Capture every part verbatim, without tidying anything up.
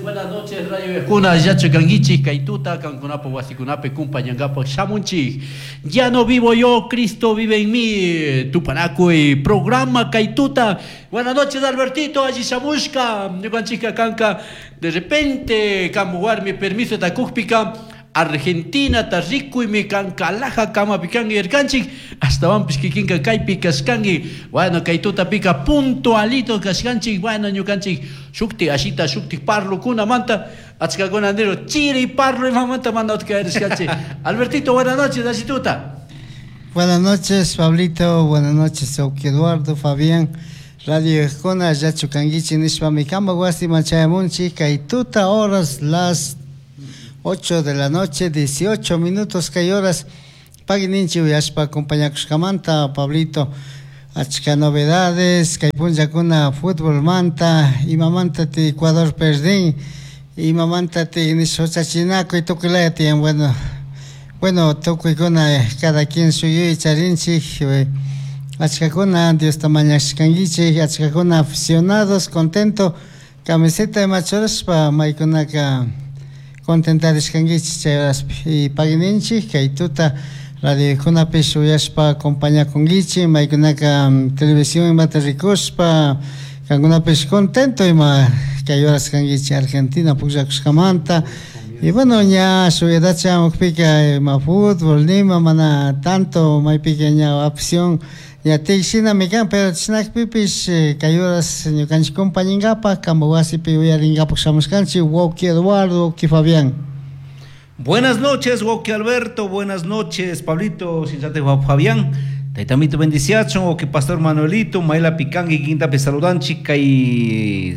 Buenas noches, Radio Escuna, Yacho Kanguichi, Kaituta, Kankunapo, Wasikunape, Kumpañangapo, Shamunchi. Ya no vivo yo, Cristo vive en mí. Tupanacuy, programa Kaituta. Buenas noches, Albertito, allí Shamushka, Ñukanchika Kanka. De repente, Kambuarmi, permiso, Takukpika. Argentina ta rikuymi kankalaja kamapikanki irkanchik astawanpis kikinka kaypi kashkanki bueno kay tutapika puntualito kashkanchik bueno ñukanchik shukti ashita shukti parlukunamanta achkakuna niro chiri parlo imamanta mana utkayarishkanchik. Albertito, buenas noches, ashituta. Buenas noches, Pablito, buenas noches, Oki Eduardo, Fabián, Radio Escona, Yachu Kanguichi, nishpami kamba wasiman chayamunchik kay tuta horas las ocho de la noche, dieciocho minutos kay horas pagui ninchi uyashpa acompañakushkamanta, Pablito, achka novedades, kay punllakuna fútbol manta, imamanta ti Ecuador perdín, imamanta ti nishpa y tukuy tiyan, bueno, bueno, tukuykuna cada quien suyuy charinchik, achkakuna Diosta mañashkankichik, achkakuna aficionados, contento, camiseta de machoraspa maykunaka contentarishkankichik chay horaspi y pagui ninchik kay tuta radiokunapish uyashpa acompañakunkichik maykunaka televisión imata rikushpa kankunapish contento ima kay horas kankichik Argentina pukllakushkamanta y bueno ña shuyadacha hamukpika ima fútbol nima mana tanto maypika ña afición ña tikshinami kan pero chishnakpipish kay horas ñukanchik compañinkapak kampak wasipi uyarinkapak shamushkanchik wawki Eduardo, wawki Fabián. Buenas noches, wawki Alberto, buenas noches, Pablito, Sinchate Fabián, Taitamito bendiciacho, wawki Pastor Manuelito, Maela Picangi, Quinta Pesaludanchi, kay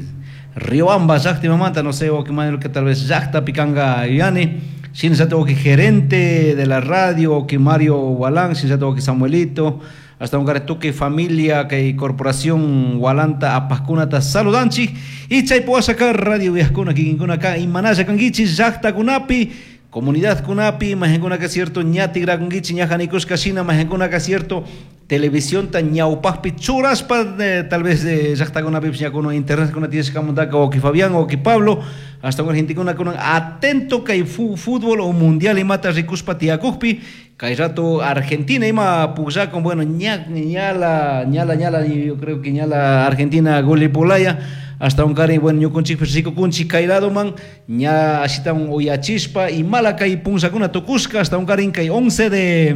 Riobamba, llaqta mamanta, no sé, wawki Manuel, que tal vez llaqta Picanga Yani, Sinchate wawki gerente de la radio, wawki Mario Walán, Sinchate wawki Samuelito, hasta un garetuque familia que corporación Walanta apascunata saludanchi y chay sacar radio viajcuna kikinkuna acá y manaya kanguichi llaqta kunapi comunidad kunapi majenkuna que cierto ñati grakunguichi ñajanikushka shina majenkuna que cierto televisión ta ñawpajpi churaspa eh, tal vez de llaqta kunapi ñakuna internet kuna tienes kamundaka o que Fabián o que Pablo hasta un argentina kuna atento kay fútbol o mundial y mata rikuspa tiakukpi kay rato Argentina ima pugllakun bueno ña ñala ñala ñala yo creo que ñala Argentina golipolaya hasta un cari bueno ñukunchik rikukunchik kay lado man ña ashita un uyachispa y mala kay punzakuna tukushka hasta un cari kay once de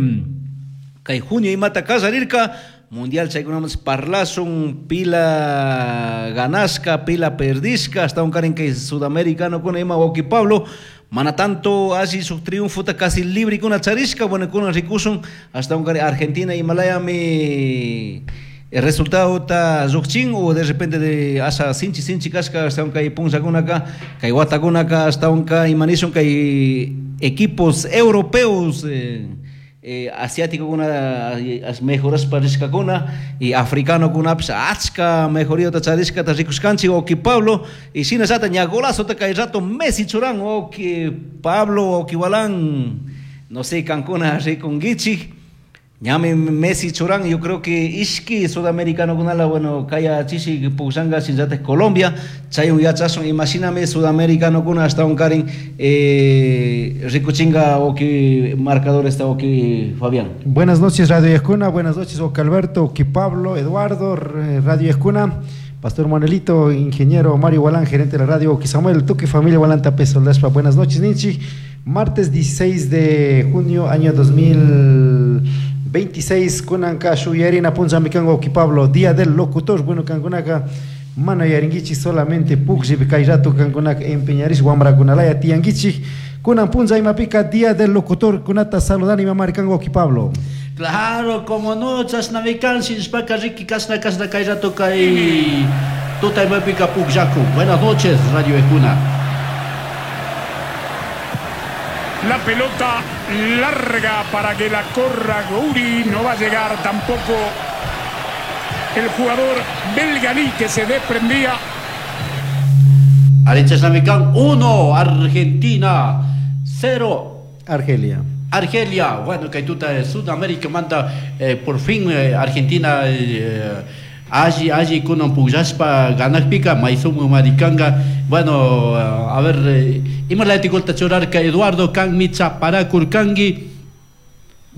kay junio imata kallarirka mundial chaykunaman parlasun pila ganasca pila perdisca hasta un cari kay sudamericano kuna ima wawki Pablo mana tanto así su triunfo ta casi libre kuna charishka bueno kuna rikusun hasta un cari Argentina Himalaya mi el resultado ta lluqchin o de repente de asa sinchi sinchi kashka hasta un kay punllakunaka kay watakunaka hasta un kay imanishun kay equipos europeos eh, eh, asiático kuna mejoraspa rishkakuna y africano kunapis achka mejoría ta charishka ta rikushkanchik wawki Pablo y shinallata ña golazo ta kay rato Messi churan wawki Pablo wawki Walán no sé kankuna rikunkichik ñami Messi churan yo creo que ishki sudamericano kunala bueno kaya chishi pugllanga shinllatak Colombia chayun yachasun imashinami sudamericano kuna hasta un karin eh, rikuchinga wawki marcador está wawki Fabián. Buenas noches Radio Escuna, buenas noches wawki Alberto, wawki Pablo, Eduardo, Radio Escuna, Pastor Manuelito, ingeniero Mario Walán, gerente de la radio, wawki Samuel, Tuque, familia Walán Tapez Soldaspa, buenas noches Ninchi, martes dieciséis de junio año dos mil veintiséis, kunanka shuyarina punllami kan wawki Pablo, día del locutor, bueno kankunaka mana yaringuichi solamente pukllpi kay rato kankunaka empeñarish wamrakunalaya tiyanguichik kunan punlla imapika día del locutor kunata saludani mamari kan wawki Pablo. Claro, como no, chashnami kan shinshpaka riki kashna kashna kay rato kay tuta imapika pukllaku. Buenas noches Radio Escuna. La pelota larga para que la corra Gouri. No va a llegar tampoco el jugador Belganí que se desprendía. Arecha uno, Argentina cero. Argelia. Argelia, bueno, que tuta de Sudamérica manda eh, por fin eh, Argentina eh, Alli alli kunan pukllashpa ganakpika may sumak marikanga. Bueno, a ver, imalati golta churarka Eduardo kanmi chaparakurkanki.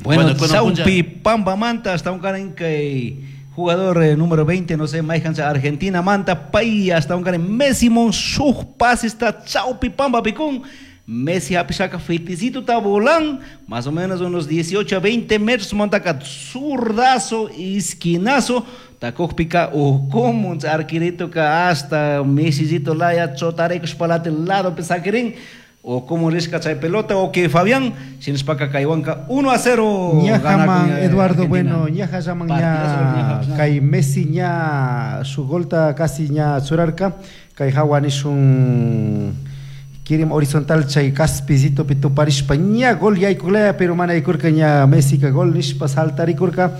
Bueno, bueno Saupi Pamba Manta hasta un karin kay jugador eh, número veinte, no sé, Maijancha Argentina Manta, pay hasta un karin Messi mon shuj pase está Chaupi Pamba picún. Messi hapisaka feticito tabolán, más o menos unos dieciocho a veinte metros montaca zurdazo, esquinazo, takojpika ujumun arquerito ka hasta Messicito laya chotarecos palate lado pesaquirín. O como risca chay pelota o que Fabián sinspaka kaywanka uno a cero ñajaman Eduardo. Bueno, ñaja llaman ña kay Messi ña su golta casi ña churarka kay hawa nishun kirim horizontal chay caspicito pituparishpa ña gol yaykuklaya pero mana yaykurka ña Messi ka gol nishpa saltarikurka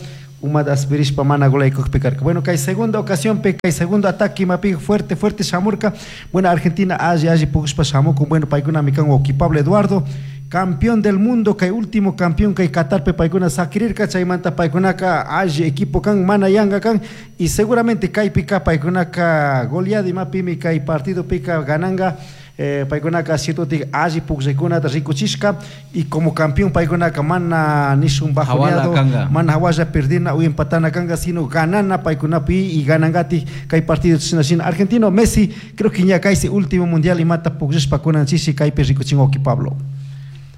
umata aspirishpa mana gol yaykukpi karka. Bueno, kay segunda ocasión pe kay segundo ataque mapi fuerte fuerte shamurka. Bueno, Argentina alli alli pukushpa shamukun. Bueno, paykunami kan wawqi Pablo Eduardo, campeón del mundo, kay último campeón kay Qatarpi paykuna sakirirka, chaymanta paykunaka alli equipo kan mana yanga kan y seguramente kaypika paykunaka goleada imapimi kay partido pika gananga. Eh, paykunaka cierto alli pukllaykunata rikuchishka y como campeón paykunaka mana nishun bajoneado, mana hawalla perdina o empatana kanga, sino ganana paykunapi y ganangati kay partido china china argentino Messi creo que ña kaysi último mundial imata pukllashpa kunan chishi kaypi rikuchin wawqi Pablo.